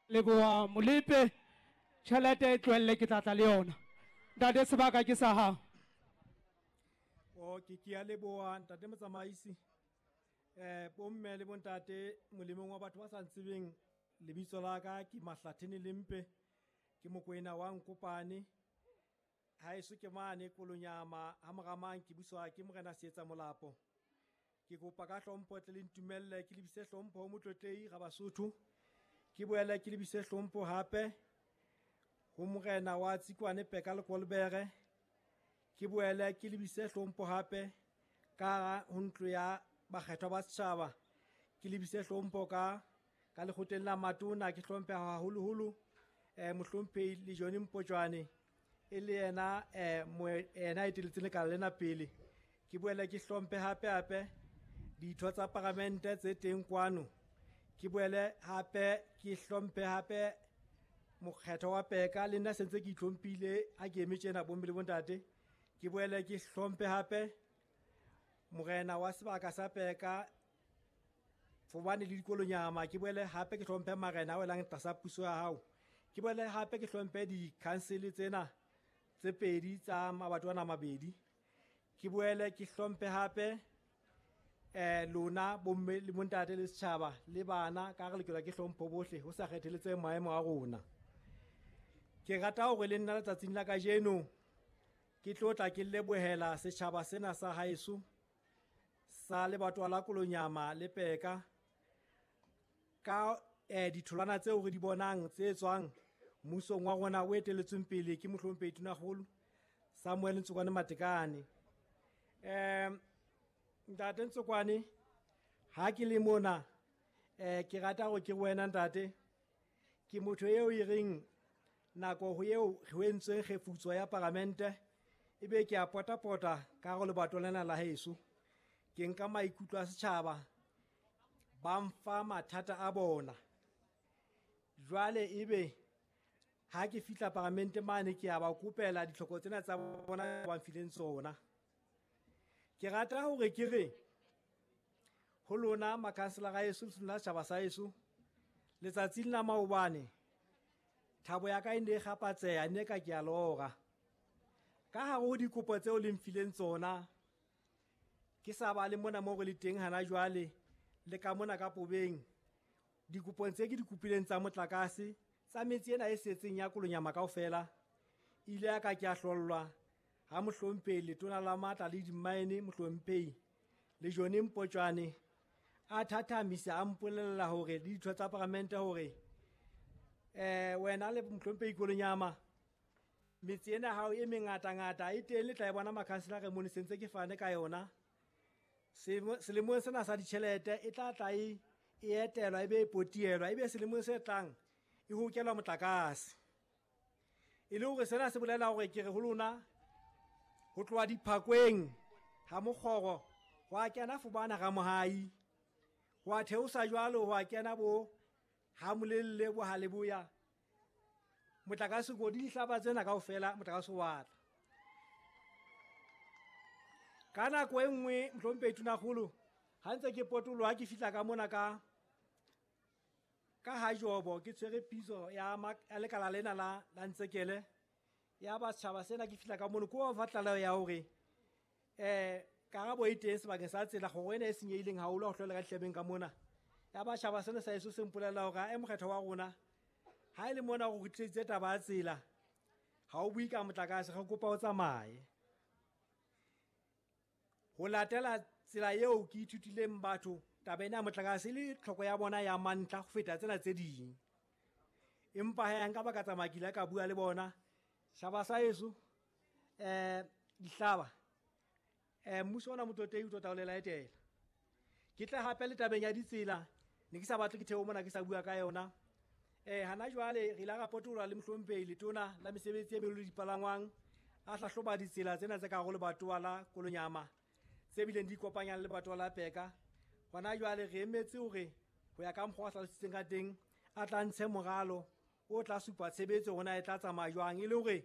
Leboha Molepe, tjhelete e tlohelle ke tla tla le yona. Ntate sebaka ke sa hao. O ke ke a leboha ntate motsamaisi. Bomme le bontate molemong wa batho ba sa ntsebeng lebitso la ka ke Mahlathene Lempe ke Mokoena wa Nkopane. Haeso ke mane Kolonyama ha Moramang ke buswa ke Morena Seetsa Molapo. Ke kopa ka hlompho tle le ntumelle ke lebise hlompho ho Motlotlehi Rabasotho. Ke boele ke lebise hlompho hape ho Morena wa Tsikwane Peka Lekolobere. Ke boele ke lebise hlompho hape ka ho ntlo ya bakgethwa ba setjhaba. Ke lebise hlompho ka lekgotleng la matona, ke hlomphe haholoholo mohlomphehi le Johnny Mpotjwane e le yena yena eteletseng lekala lena pele. Ke boele ke hlomphe hape hape ditho tsa paramente tse teng kwano. Ke boele hape ke hlomphe hape mokgetho wa Peka le nna sentse ke itlhomphile ha ke eme tjena bomme le bontate. Ke boele ke hlomphe hape morena wa sebaka sa Peka Fobane le Dikolonyama. Ke boele hape ke hlomphe marena a welang tlasa puso ya hao. Ke boele hape ke hlomphe di-council tsena tse pedi tsa mabato ana mabedi. Ke boele ke hlomphe hape lona bomme le bontate le setjhaba le bana ka re lokelwa ke hlompho bohle ho sa kgetheletse maemo a rona. Ke rata hore le nna letsatsing la kajeno ke tlo tla ke lebohela setjhaba sena sa haeso sa lebatowa la Kolonyama le Peka ka ditholwana tseo re di bonang tse tswang mmusong wa rona o etelletsweng pele ke mohlomphehi Tonakgolo Samuel Ntsokwane Matekane. Ntate Ntsokwane, ha ke le mona ke rata hore ke wena ntate, ke motho eo e reng nako ho eo ho entsweng kgefutso ya paramente ebe ke a potapota ka hare lebato lena la heso. Ke nka maikutlo a setjhaba, ba mfa mathata a bona. Jwale ebe ha ke fihla paramente mane ke a ba kopela ditlhoko tsena tsa bona ba mfileng tsona. Ke rata hore ke re ho lona makhanselara a heso le lona setjhaba sa heso, letsatsing la maobane thabo ya ka e ne e kgapatseha, ne ka ke a lora. Ka hare ho dikopo tseo le mfileng tsona, ke sa ba le mona moo re le teng hana jwale le ka mona ka Pobeng, dikopong tse ke di kopileng tsa motlakase tsa metse ena e setseng ya Kolonyama kaofela, ile ya ka ke a hlollwa ha mohlomphehi letona la matla le dimmaene mohlomphehi le Johnny Mpotjwane a thathamisa a mpolella hore le ditho tsa paramente hore wena le mohlomphehi Kolonyama metse ena hao e mengatangata e teng, le tla e bona makhanselara mone sentse ke fane ka yona. Selemong sena sa ditjhelete e tla tla e etelwa ebe e potielwa, ebe selemong se tlang e hokelwa motlakase. E le hore sena se bolela hore ke re ho lona ho tloha diphakweng ha mokgoro ho a kena Fobana Ramohai, ho a theosa jwalo ho a kena bo ha Molelle bo ha Leboya, motlakase ko di dihlaba tsena kaofela motlakase wa tla. Ka nako e nngwe mohlomphehi Tonakgolo ha ntse ke potoloha ke fihla ka mona ka ha Jobo ke tshwere pitso ya lekala lena la Ntsekele ya ba setjhaba sena, ke fihla ka mono ke wa fa tlaleho ya hore karabo e teng sebakeng sa tsela kgoro ena e senyehileng haholo ha ho hlola ka dihlabeng ka mona. Ya ba setjhaba sena sa heso se mpolella hore mokgetho wa rona ha e le mona o kgutliseditse taba ya tsela, ha o bue ka motlakase, re kopa o tsamaye. Ho latela tsela eo ke ithutileng batho taba ena ya motlakase le tlhoko ya bona ya mantlha ho feta tsena tse ding. Empa ha nka ba ka tsamaya ke ile ka bua le bona setjhaba sa heso dihlaba mmuso ona Motlotlehi o tlo tla o le laetela. Ke tla hape le tabeng ya ditsela, ne ke sa batle ke theohe mona ke sa bua ka yona. Hana jwale re ile ra potoloha le mohlomphehi letona la mesebetsi e meholo le dipalangwang a hlahloba ditsela tsena tse ka hare ho lebatowa la Kolonyama tse bileng di ikopanyang le lebatowa la Peka. Hona jwale re emetse hore ho ya ka mokgwa o hlalositseng ka teng a tla ntshe moralo o tla supa tshebetso hore na e tla tsamaya jwang, e le hore